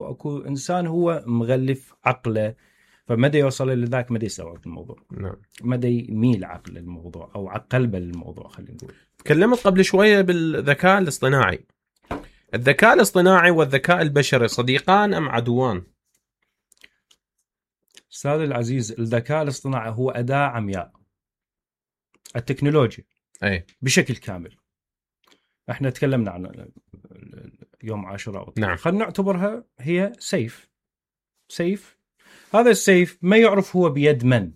واكو انسان هو مغلف عقله، فمدى يوصل الى ذاك مدى يستوعب الموضوع. نعم. مدى يميل عقل الموضوع او قلبه للموضوع. خلينا نقول تكلمت قبل شويه بالذكاء الاصطناعي. الذكاء الاصطناعي والذكاء البشري صديقان ام عدوان؟ استاذ العزيز، الذكاء الاصطناعي هو اداه عمياء. التكنولوجيا اي بشكل كامل، احنا تكلمنا عن يوم عاشوراء. نعم. خلينا نعتبرها هي سيف. هذا السيف ما يعرف هو بيد من،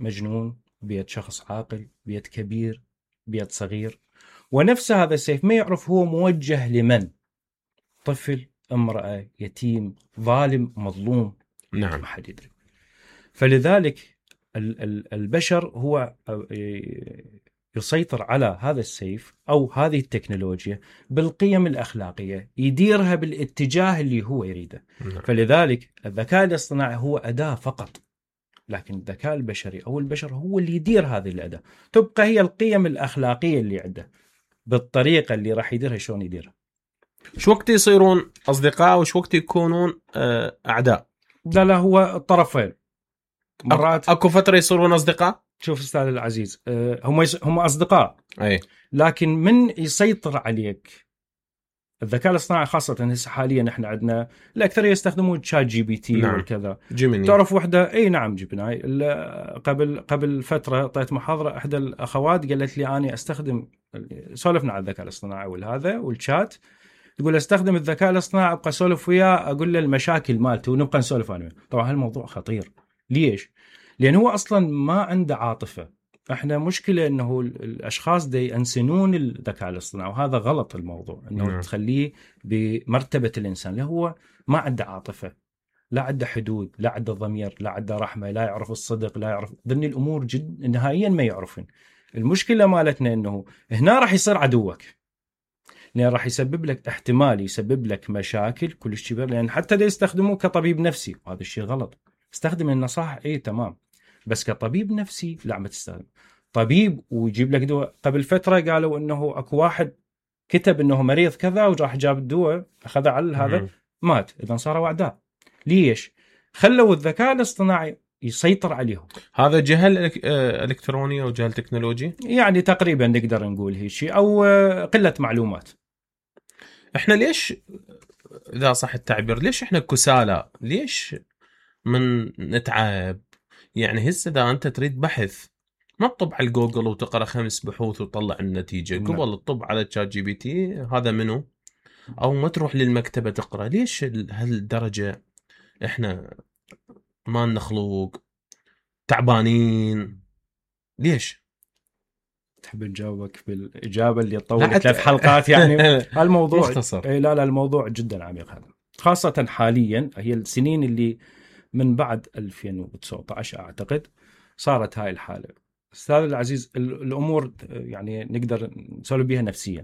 مجنون، بيد شخص عاقل، بيد كبير، بيد صغير. ونفس هذا السيف ما يعرف هو موجه لمن، طفل، امرأة، يتيم، ظالم، مظلوم. نعم. ما حد يدري. فلذلك البشر هو يسيطر على هذا السيف أو هذه التكنولوجيا بالقيم الأخلاقية، يديرها بالاتجاه اللي هو يريده. نعم. فلذلك الذكاء الاصطناعي هو أداة فقط، لكن الذكاء البشري أو البشر هو اللي يدير هذه الأداة، تبقى هي القيم الأخلاقية اللي عنده بالطريقة اللي راح يديرها، شلون يديرها. شو وقت يصيرون أصدقاء وشو وقت يكونون أعداء؟ لا هو الطرفين. مرات أكو فترة يصيرون أصدقاء. شوف أستاذ العزيز، هم أصدقاء، أي. لكن من يسيطر عليك الذكاء الاصطناعي خاصة هسه حاليا احنا عندنا الأكثر يستخدمون تشات جي بي تي. نعم. والكذا جيميني. تعرف وحدة، اي نعم جبناي. قبل فترة طيت محاضرة احدى الأخوات قالت لي أنا استخدم، سولفنا عن الذكاء الاصطناعي والهذا والشات، تقول استخدم الذكاء الاصطناعي ابقى اسولف وياه، اقول له المشاكل مالته ونبقى نسولف عنه. طبعا هالموضوع خطير. ليش؟ لأن هو أصلا ما عنده عاطفة. احنا مشكلة انه الاشخاص دي ينسنون الذكاء الاصطناعي، وهذا غلط الموضوع، انه تخليه بمرتبة الانسان. لا، هو ما عنده عاطفة، لا عنده حدود، لا عنده ضمير، لا عنده رحمة، لا يعرف الصدق، لا يعرف ذني الامور جد نهائيا ما يعرفن. المشكلة مالتنا انه هنا راح يصير عدوك، لأن راح يسبب لك، احتمال يسبب لك مشاكل كلش كبيرة. لأن حتى ده يستخدموه كطبيب نفسي، وهذا الشيء غلط. استخدم النصائح ايه تمام، بس كطبيب نفسي لا، ما تستخدم. طبيب ويجيب لك دواء. قبل فترة قالوا انه اكو واحد كتب انه مريض كذا وراح جاب الدواء اخذه على هذا مات، اذا صاروا اعداء. ليش؟ خلوا الذكاء الاصطناعي يسيطر عليهم. هذا جهل الكتروني او جهل تكنولوجي، يعني تقريبا نقدر نقول هيك شيء، او قلة معلومات. احنا ليش، اذا صح التعبير، ليش احنا كسالى؟ ليش من نتعب؟ يعني هسه اذا انت تريد بحث ما تطب على جوجل وتقرا 5 بحوث وتطلع النتيجه، قبل تطب على تشات جي بي تي هذا منو، او ما تروح للمكتبه تقرا. ليش هالدرجه احنا ما نخلوق تعبانين؟ ليش؟ تحب نجاوبك بالاجابه اللي طولت 3 حلقات يعني؟ هالموضوع مختصر. لا الموضوع جدا عميق هذا، خاصه حاليا هي السنين اللي من بعد 2019 اعتقد صارت هاي الحاله. استاذ العزيز، الامور يعني نقدر نسولف بها نفسيا.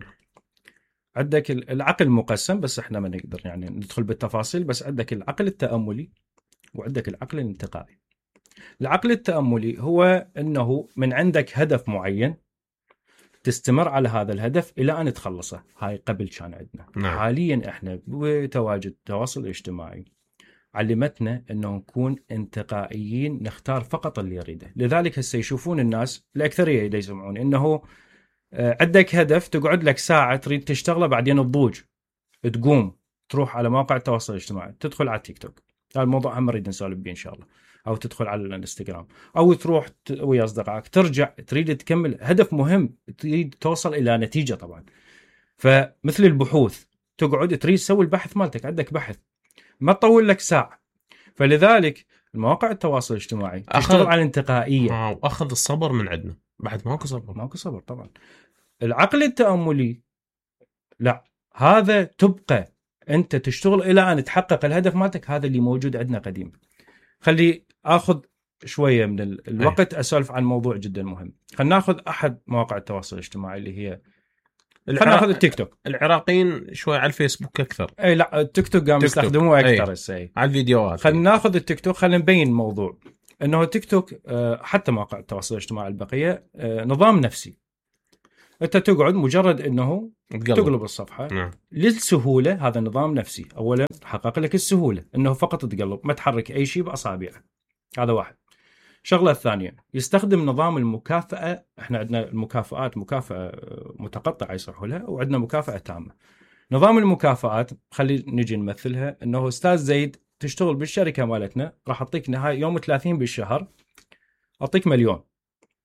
عندك العقل مقسم، بس احنا ما نقدر يعني ندخل بالتفاصيل. بس عندك العقل التأملي وعندك العقل الانتقائي. العقل التأملي هو انه من عندك هدف معين تستمر على هذا الهدف الى ان تخلصه. هاي قبل كان عندنا. نعم. حاليا احنا بتواجد التواصل الاجتماعي علمتنا انه نكون انتقائيين، نختار فقط اللي يريده. لذلك هسه يشوفون الناس الاكثريه اللي يسمعون انه عندك هدف تقعد لك ساعه تريد تشتغله، بعدين تضوج، تقوم تروح على مواقع التواصل الاجتماعي، تدخل على التيك توك، هذا الموضوع هم نريد نسولف به ان شاء الله، او تدخل على الانستغرام، او تروح ويا اصدقائك، ترجع تريد تكمل هدف مهم، تريد توصل الى نتيجه طبعا. فمثل البحوث، تقعد تريد تسوي البحث مالتك، عندك بحث ما تطول لك ساعه. فلذلك المواقع التواصل الاجتماعي تشتغل على الانتقائيه، واخذ الصبر من عندنا، بعد ماكو صبر طبعا. العقل التأملي لا، هذا تبقى انت تشتغل الى ان تحقق الهدف مالتك. هذا اللي موجود عندنا قديم. خلي اخذ شويه من الوقت اسولف عن موضوع جدا مهم. خلينا ناخذ احد مواقع التواصل الاجتماعي اللي هي، خلينا ناخذ التيك توك. العراقيين شوي على الفيسبوك اكثر. اي لا، التيك توك قام يستخدموه اكثر هسه على الفيديوهات. خلينا ناخذ التيك توك، خلينا نبين الموضوع. انه التيك توك حتى مواقع التواصل الاجتماعي البقيه نظام نفسي. انت تقعد مجرد انه تقلب الصفحه. نعم. للسهوله، هذا نظام نفسي. اولا حقق لك السهوله انه فقط تقلب، ما تحرك اي شيء باصابعك. هذا واحد. الشغله الثانيه يستخدم نظام المكافاه. احنا عندنا المكافآت مكافاه متقطعه يصحوا لها، وعندنا مكافاه تامه. نظام المكافآت خلي نجي نمثلها انه استاذ زيد تشتغل بالشركه مالتنا، راح اعطيك نهايه يوم 30 بالشهر اعطيك 1,000,000.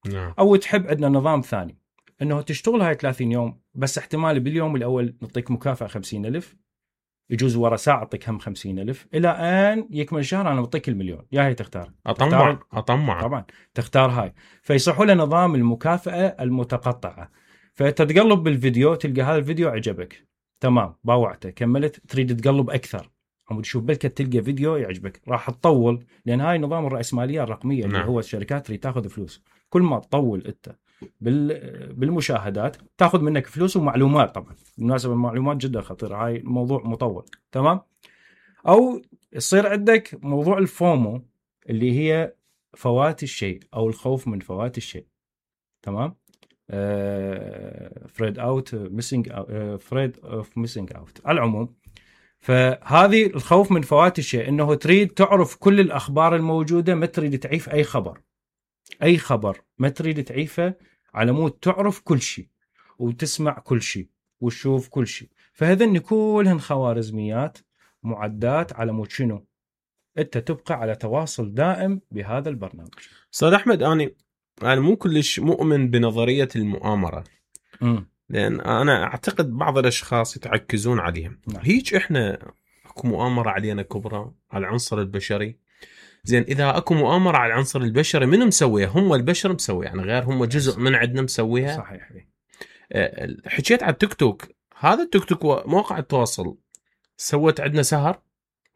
نعم. او تحب عندنا نظام ثاني انه تشتغل هاي 30 يوم بس احتمال باليوم الاول نعطيك مكافاه 50,000، يجوز ورا ساعه اعطيك هم 50,000 الى ان يكمل الشهر انا اعطيك 1,000,000. يا هي تختار. اطمع طبعا تختار هاي. فيصحوا له نظام المكافاه المتقطعه. فتتقلب بالفيديو تلقى هذا الفيديو عجبك، تمام، باوعته، كملت، تريد تقلب اكثر، عم تشوف بلكة تلقى فيديو يعجبك، راح تطول، لان هاي نظام الرأسمالية الرقمية. نعم. اللي هو الشركات تريد تاخذ فلوس. كل ما تطول انت بالمشاهدات تاخذ منك فلوس ومعلومات. طبعا بالمناسبة المعلومات جدا خطيرة، هاي موضوع مطول، تمام. او يصير عندك موضوع الفومو اللي هي فوات الشيء او الخوف من فوات الشيء، تمام. فريد اوت ميسنج، فريد اوف ميسنج اوت على العموم. فهذه الخوف من فوات الشيء، انه تريد تعرف كل الاخبار الموجوده، ما تريد تعيف اي خبر. اي خبر ما تريد تعيفه، على مود تعرف كل شيء وتسمع كل شيء وتشوف كل شيء. فهذن كلهن خوارزميات معدات على مود شنو؟ انت تبقى على تواصل دائم بهذا البرنامج. استاذ احمد، انا مو كلش مؤمن بنظريه المؤامره. لان انا اعتقد بعض الاشخاص يتعكزون عليها. نعم. هيك احنا اكو مؤامره علينا كبرى على العنصر البشري. زين، اذا اكو مؤامره على العنصر البشري من مسويها؟ هم البشر مسويها، يعني غير هم جزء من عندنا مسويها. صحيح. حكيت على التيك توك. هذا التيك توك مواقع التواصل سوت عندنا سهر.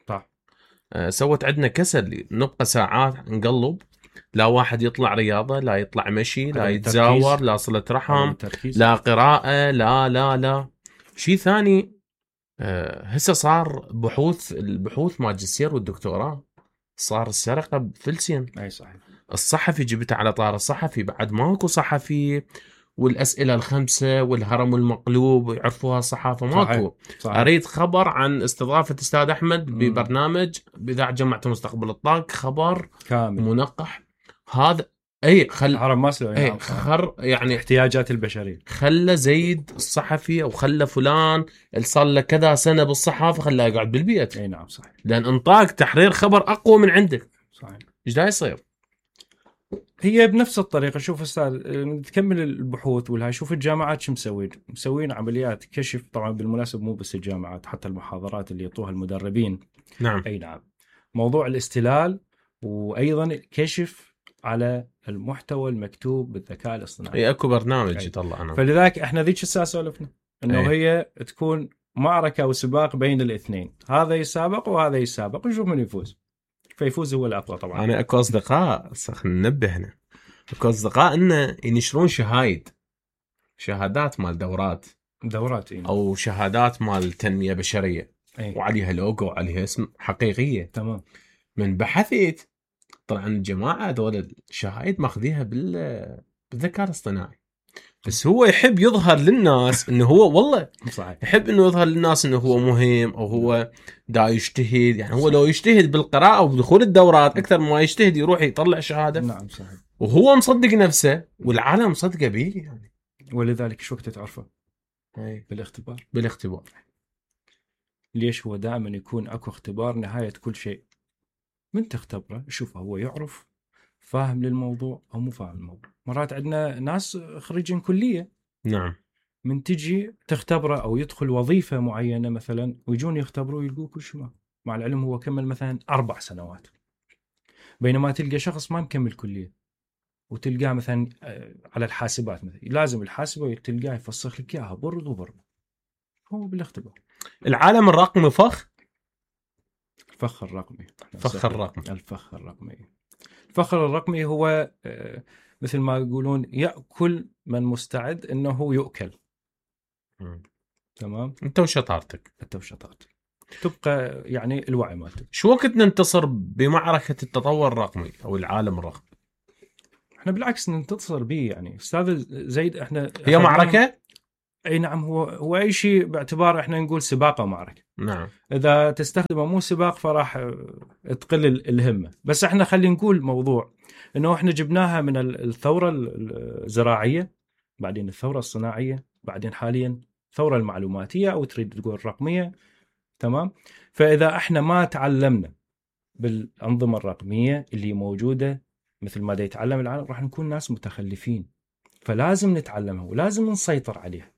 صح. سوت عندنا كسل، نبقى ساعات نقلب، لا واحد يطلع رياضة، لا يطلع مشي، لا يتزاور، لا صلة رحم، لا قراءة، لا شيء ثاني. هسه صار البحوث ماجستير والدكتوراه، صار السرقة بفلسين. اي صحيح. الصحفي جبته على طار الصحفي، بعد ماكو صحفي، والأسئلة الخمسة والهرم المقلوب يعرفوها الصحافة ماكو. صحيح. أريد خبر عن استضافة أستاذ أحمد ببرنامج بإذاعة جماعة مستقبل الطاق، خبر كامل منقح. هذا هرم ماسلو. يعني احتياجات البشرية. خلى زيد الصحفي او خلى فلان اللي صار له كذا سنة بالصحافة خلاه يقعد بالبيت. اي نعم صحيح. لأن انطاك تحرير خبر أقوى من عندك. صحيح. ايش دا يصير؟ هي بنفس الطريقة. شوف أستاذ، تكمل البحوث والهاي، شوف الجامعات شو مسوين عمليات كشف. طبعا بالمناسبة مو بس الجامعات، حتى المحاضرات اللي يعطوها المدربين. نعم. أي نعم. موضوع الاستلال، وأيضا كشف على المحتوى المكتوب بالذكاء الاصطناعي. اي اكو برنامج يطلع أنا. فلذلك احنا ذيك الساعة سولفنا انه هي تكون معركة وسباق بين الاثنين، هذا يسابق وهذا يسابق، نشوف من يفوز. فيفوز هو الأقوى طبعا. أنا أكو أصدقاء ننبه هنا، أكو أصدقاء إنه ينشرون شهادات مال دورات أو شهادات مال تنمية بشرية. وعليها لوجو وعليها اسم حقيقية. تمام. من بحثت طلع أن الجماعة دول الشهايد ماخذيها بالذكاء الاصطناعي، بس هو يحب يظهر للناس انه هو والله صحيح. يحب انه يظهر للناس انه هو مهم، او هو دا يجتهد. يعني هو لو يجتهد بالقراءة وبدخول الدورات اكثر ما يجتهد يروح يطلع شهادة. نعم صحيح. وهو مصدق نفسه والعالم مصدقه به يعني. ولذلك شو وقت تعرفه؟ بالاختبار. ليش هو دائما يكون اكو اختبار نهاية كل شيء. من تختبره شوفه هو يعرف فاهم للموضوع او مو فاهم الموضوع. مرات عندنا ناس خريجين كلية. نعم. من تجي تختبره او يدخل وظيفة معينة مثلا، ويجون يختبروا يلقوا كل شيء، مع العلم هو كمل مثلا 4 سنوات. بينما تلقى شخص ما مكمل كلية وتلقاه مثلا على الحاسبات مثلا، لازم الحاسبة تلقاه يفسخ لك اياها برد وبرد. هو بالاختبار. العالم الرقمي الفخ الرقمي. الفخر الرقمي هو مثل ما يقولون يأكل من مستعد انه يؤكل. تمام. انت وشطارتك تبقى يعني الوعي مالتك. شو وقت ننتصر بمعركة التطور الرقمي او العالم الرقمي؟ احنا بالعكس ننتصر به يعني استاذ زيد. احنا هي معركه. اي نعم، هو اي شيء باعتبار احنا نقول سباق ومعركه. نعم. اذا تستخدمه مو سباق فراح تقل الهمه. بس احنا خلينا نقول موضوع انه احنا جبناها من الثوره الزراعيه، بعدين الثوره الصناعيه، بعدين حاليا الثوره المعلوماتيه او تريد تقول الرقميه. تمام. فاذا احنا ما تعلمنا بالانظمه الرقميه اللي موجوده مثل ما دا يتعلم العالم راح نكون ناس متخلفين. فلازم نتعلمها ولازم نسيطر عليها.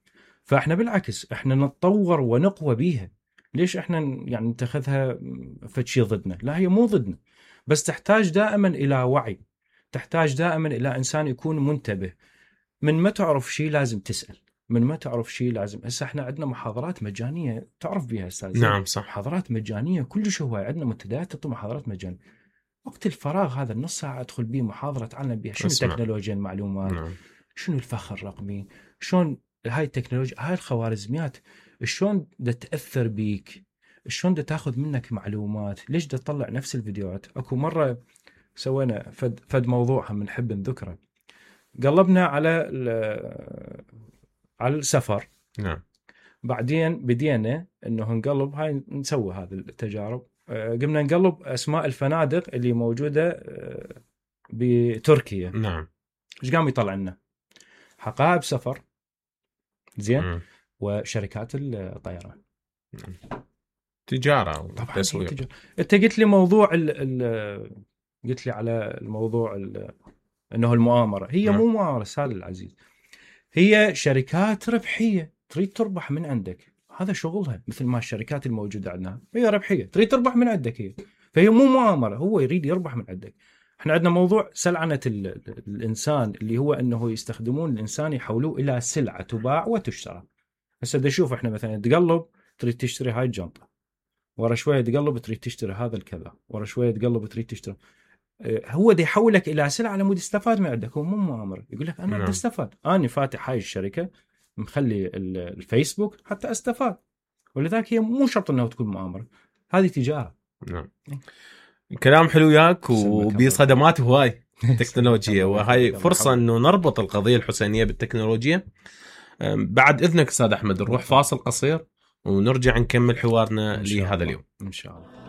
فاحنا بالعكس احنا نتطور ونقوى بيها. ليش احنا يعني نتخذها فشي ضدنا؟ لا، هي مو ضدنا، بس تحتاج دائما الى وعي، تحتاج دائما الى انسان يكون منتبه. من ما تعرف شيء لازم تسأل، من ما تعرف شيء لازم. هسه احنا عندنا محاضرات مجانيه تعرف بها استاذ. نعم صح. محاضرات مجانيه كلش هواي، عندنا منتديات تعطي محاضرات مجانيه. وقت الفراغ هذا النص ساعه ادخل به محاضره اتعلم بها شنو تكنولوجيا المعلومات. نعم. شنو الفخ الرقمي، شلون هاي التكنولوجيا، هاي الخوارزميات شلون دا تأثر بيك، شلون دا تاخذ منك معلومات، ليش دا تطلع نفس الفيديوهات. اكو مرة سوينا فد موضوع هم نحب نذكره. قلبنا على السفر. نعم. بعدين بدينا انه نقلب هاي نسوي هذه التجارب. قمنا نقلب اسماء الفنادق اللي موجودة بتركيا. نعم. ايش قام يطلع لنا؟ حقائب سفر، زين، وشركات الطيران. تجارة طبعا تسويق. انت قلت لي موضوع قلت لي على الموضوع انه المؤامرة. هي مو مؤامرة سالم العزيز، هي شركات ربحية تريد تربح من عندك. هذا شغلها، مثل ما الشركات الموجودة عندنا هي ربحية تريد تربح من عندك هي. فهي مو مؤامرة، هو يريد يربح من عندك. احنا عندنا موضوع سلعنة الإنسان اللي هو أنه يستخدمون الإنسان يحولوه إلى سلعة تباع وتشترى. هسه دا شوف احنا مثلا تقلب تريد تشتري هاي الجنطة، ورا شوية تقلب تريد تشتري هذا الكذا، ورا شوية تقلب تريد تشتري. هو دا يحولك إلى سلعة على مود يستفاد من عندك. هو مو مؤامرة، يقول لك أنا بدي استفاد، أنا فاتح هاي الشركة مخلي الفيسبوك حتى استفاد. ولذلك هي مو شرط أنه تكون مؤامرة، هذه تجارة. نعم. كلام حلو ياك وبصدمات هواي تكنولوجيا، وهاي فرصة انه نربط القضية الحسينية بالتكنولوجيا. بعد اذنك استاذ احمد نروح فاصل قصير ونرجع نكمل حوارنا لهذا اليوم ان شاء الله.